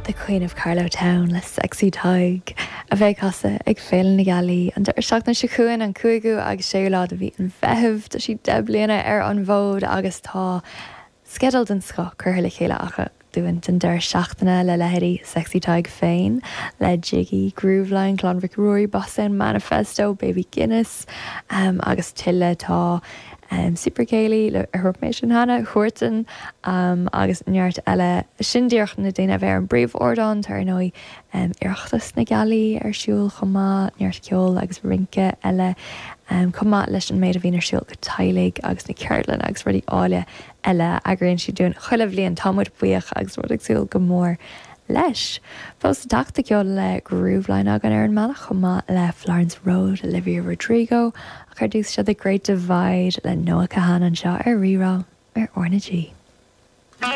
The Queen of Carlow Town le Sexy Tadhg, a bheidh ag casadh ag Féile na Gealaí an deireadh seachtaine seo chugainn, an 5ú agus 6ú lá de mhí an Mheithimh. Tá siad 10 bliana ar an bhfód agus tá sceideal den scoth curtha le chéile acu dúinn don deireadh seachtaine le leithéidí Sexy Tadhg féin, le Jiggy, Grooveline, Clann Mhic Ruairí, Bosstown Manifesto, Baby Guinness agus tuilleadh. Tá Super Céilí, ar dúirt mé sin cheana, Huartan agus neart eile. Sin díreach na daoine a bheidh ar an bpríomh-ardán. Tá ar ndóigh Oireachtas na Gealaí ar siúl chomh maith, neart ceoil agus rince eile chomh maith leis an méid a bhíonn ar siúl do teaghlaigh agus na ceardlanna agus rudaí áille eile a eagraíonn siad dúinn chuile bhliain. Tá muid buíoch agus muid ag súil go mór leis. Fós le teacht tá ceol le Grooveline againn ar an mbealach chomh maith le Florence Road, Olivia Rodrigo, ach ar dtús seo The Great Divide le Noah Kahan anseo ar Rí-Rá ar RnaG.